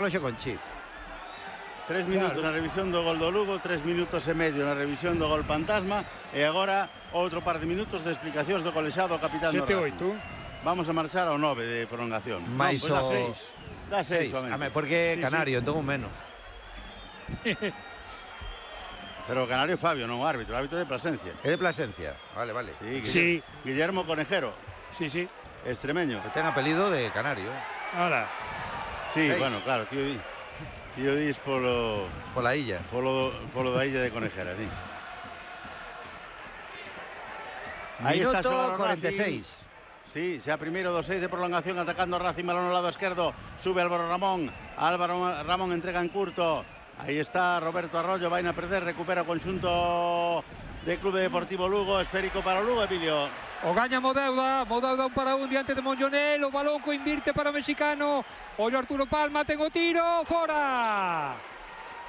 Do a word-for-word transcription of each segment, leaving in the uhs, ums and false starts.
Reloxo con chip. Tres minutos claro. Na revisión do gol do Lugo, tres minutos e medio na revisión do gol fantasma e agora outro par de minutos de explicacións do colexado capitán do Racing. Vamos a marchar ao nove de prolongación. Mais non, pues dá seis. Dá seis, somente. Porque sí, Canario, sí. Entón un menos. Pero o Canario Fabio, non o árbitro, o árbitro de Plasencia. É de Plasencia, vale, vale. Sí, Guillermo, sí. Guillermo Conejero. Sí, sí. Extremeño. Que ten apelido de Canario. Ahora. Sí, seis. Bueno, claro, tío di. Tío dis polo... Pola illa. Polo, polo da illa de Conejera, sí. Aí está Minuto cuarenta y seis. Sí, xa primeiro dos seis de prolongación atacando Racing, balón ao lado esquerdo, sube Álvaro Ramón, Álvaro Ramón entrega en curto, aí está Roberto Arroyo, vai a perder, recupera o conxunto de Clube Deportivo Lugo, esférico para o Lugo, Emilio. O gaña Modauda, Modauda un para un diante de Monjonel, o balón co invirte para o mexicano, ollo Arturo Palma, ten o tiro, fora!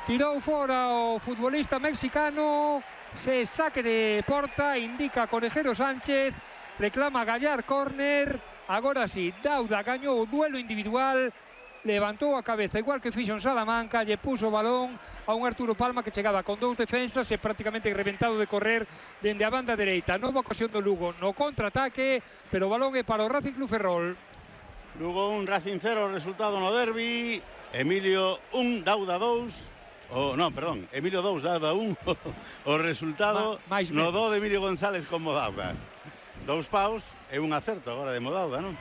Tirou fora o futbolista mexicano, se saque de porta, indica Conejero Sánchez, reclama Gallar córner, agora sí, Dauda gañou o duelo individual, levantou a cabeza igual que fixo en Salamanca, lle puso o balón a un Arturo Palma que chegaba con dous defensas e prácticamente reventado de correr dende a banda dereita. Nova ocasión do Lugo no contraataque, pero o balón é para o Racing Club Ferrol. Lugo un, Racing cero, resultado no derbi, Emilio un, Dauda dous. Oh, non, perdón, Emilio dous, Dauda un. O resultado Ma, no do de Emilio González con Modauda. Dous paus e un acerto agora de Modauda, non?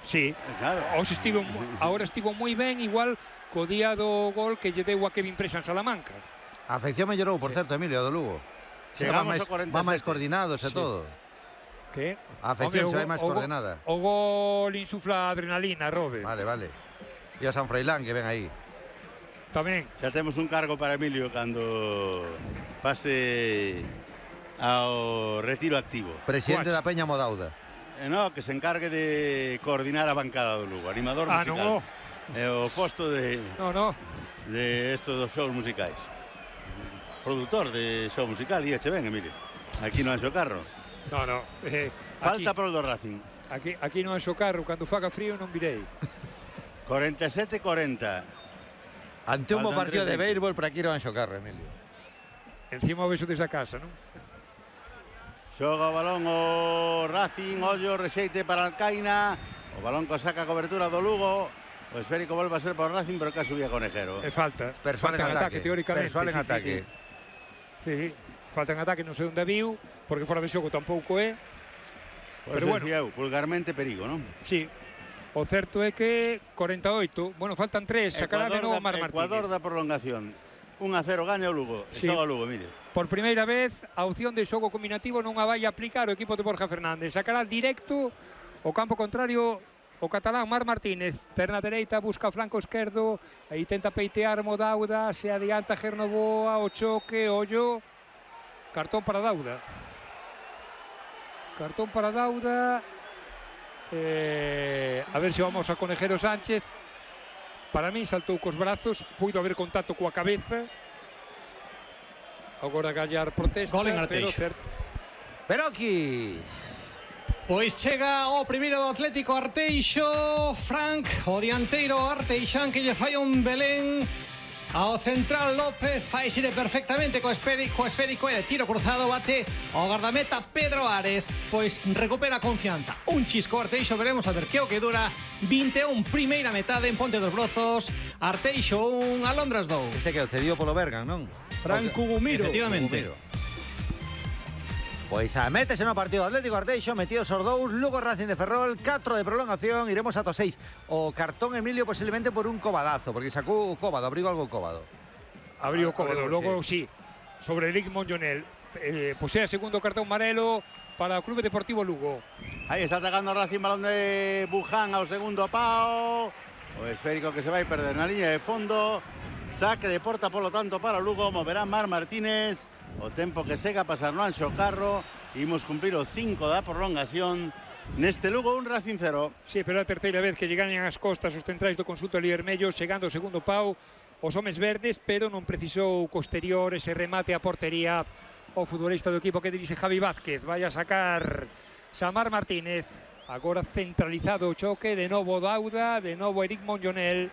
Sí, claro. Os estivo, agora estivo moi ben, igual co día do gol que lle deu a Kevin Presa en Salamanca. A afección mellorou, por sí. Certo, Emilio, do Lugo. Chegamos ao cuarenta e sete. Va máis coordinados e sí. Todo. Que? A afección se vai máis coordenada. O gol insufla adrenalina, Robe. Vale, vale. E a San Freilán que ven aí. Tamén. Xa temos un cargo para Emilio cando pase ao retiro activo. Presidente da Peña Modauda. Eh, no, que se encargue de coordinar a bancada do Lugo, animador ah, musical. No. Eh, o posto de No, no. de estos dos shows musicais. Productor de show musical, e eche ben, Emilio. Aquí no Anxo Carro. No, no. Eh, Falta pro do Racing. Aquí, aquí no Anxo Carro, cando faga frío non virei. cuarenta e sete cuarenta. Ante un bo partido de béisbol para aquí no Anxo Carro, Emilio. Encima o beso desa casa, non? Xoga o balón o Racing, ollo, rexeite para Alcaina. O balón que saca a cobertura do Lugo. O esférico volve a ser para o Racing, pero que subía Conejero. E falta. Persoal falta en ataque, ataque, teóricamente. Persoal en sí, ataque. Sí, sí. sí, falta en ataque, non sei onde viu, porque fora de xogo tampouco é. Pues pero bueno, eu, vulgarmente perigo, non? Sí. O certo é que cuarenta e oito, bueno, faltan tres, sacará de novo Mar Martínez. Ecuador da prolongación. un a cero gaña o Lugo. Sí. Xoga o Lugo, mire. Por primeira vez, a opción de xogo combinativo non a vai aplicar o equipo de Borja Fernández. Sacará directo o campo contrario o catalán Mar Martínez. Perna dereita, busca o flanco esquerdo. Aí tenta peitear Modauda. Se adianta Gernoboa, o choque, ollo. Cartón para Dauda. Cartón para Dauda. Eh, a ver se vamos a Conejero Sánchez. Para mí saltou cos brazos, puido haber contacto coa cabeza. Agora Gallar protesta, pero certo. Beroquis. Pois chega o primeiro do Atlético Arteixo, Frank, o dianteiro Arteixán que lle fai un Belén ao central López, fai xire perfectamente co esférico, esférico e de tiro cruzado bate o gardameta Pedro Ares, pois recupera confianza. Un chisco Arteixo, veremos a ver que o que dura. vinte e un primeira metade en Ponte dos Brozos. Arteixo un, Alondras dous. Este que o cedido polo Bergan, non? Franco Gumiro. Efectivamente. Pois a métese no partido Atlético Arteixo, metidos os dous, Lugo Racing de Ferrol, catro de prolongación, iremos ata seis. O cartón Emilio posiblemente por un cobadazo, porque sacou o Cóbado, abrigo algo Cóbado. Abrigo Cóbado, logo sí, sobre Eric Monjonel. Eh, posee segundo cartón amarelo para o Clube Deportivo Lugo. Aí está atacando Racing, balón de Buján ao segundo pao. O esférico que se vai perder na liña de fondo. Saque de porta, polo tanto, para o Lugo, moverá Mar Martínez. O tempo que sega a pasar no Anxo Carro. Imos cumprir o cinco da prolongación neste Lugo, un Racing cero. Sí, pero é a terceira vez que lle gañan as costas os centrais do conxunto Liermello, chegando ao segundo pau os homes verdes, pero non precisou posterior ese remate a portería o futbolista do equipo que dirixe Javi Vázquez. Vai a sacar Samar Martínez. Agora centralizado o choque, de novo Dauda, de novo Eric Monjonel.